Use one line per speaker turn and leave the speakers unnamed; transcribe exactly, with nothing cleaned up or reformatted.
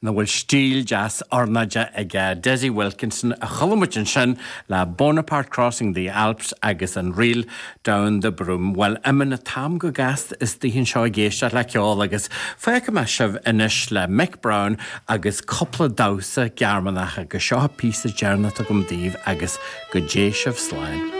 ina bhfuil stíl deas ornáide ag Desi Wilkinson a chuala muid ansin le Bonaparte Crossing the Alps agus an ríl Down the Broom. Well imíonn an t-am go gasta istigh anseo ag éisteacht le ceol agus fágfaidh mé sibh anois le Mick Brown agus cúpla damhsa Gearmánach agus seo píosa deireanach agam daoibh agus go dté sibh slán.